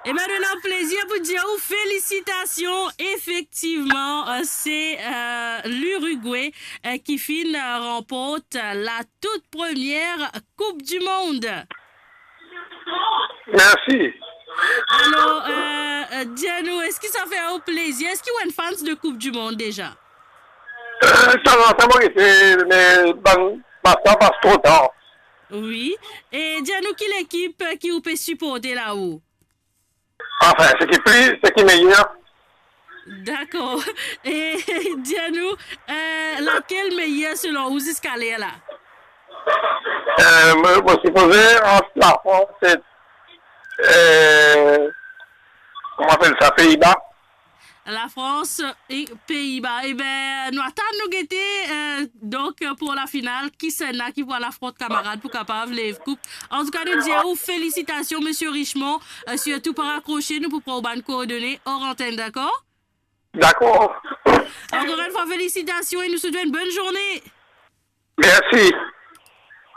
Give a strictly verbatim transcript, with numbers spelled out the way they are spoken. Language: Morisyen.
Ebin, nou ena plezir pou dir ou felisitasion. Efektivman, eh, se, eh, Lirigwe, eh, ki finn, eh, ranport, eh, la tout premie Koup di Mond. Mersi. Alor, eh, eh, dir nou, eski sa fer ou plezir? Eski ou enn fans de Koup di Mond deza? Eh, tanzantan mo gete, me bann match la pas tro tar. Wi. E dir nou ki lekip ki ou pe siporte la ou? Anfin, seki pli, seki meyer. Dakor. E dir nou, eh, lakel meyer selon ou ziska ler la? Eh, mo, mo sipoze ant Lafrans e, eh, kouma apel sa, Peiba. Lafrans e Peiba. Ebin, nou atann, nou gete, eh, donk, pou lafinal, kisannla ki pou al afront kamarad pou kapav lev koup. Antouka, nou dir ou felisitasion, Misie Richemond, eh, sirtou pa rakrose, nou pou pran ou bann koordone or antenn, dakor? Dakor. Ankor enn fwa, felisitasion e nou swet ou enn bonn zourne. Mersi.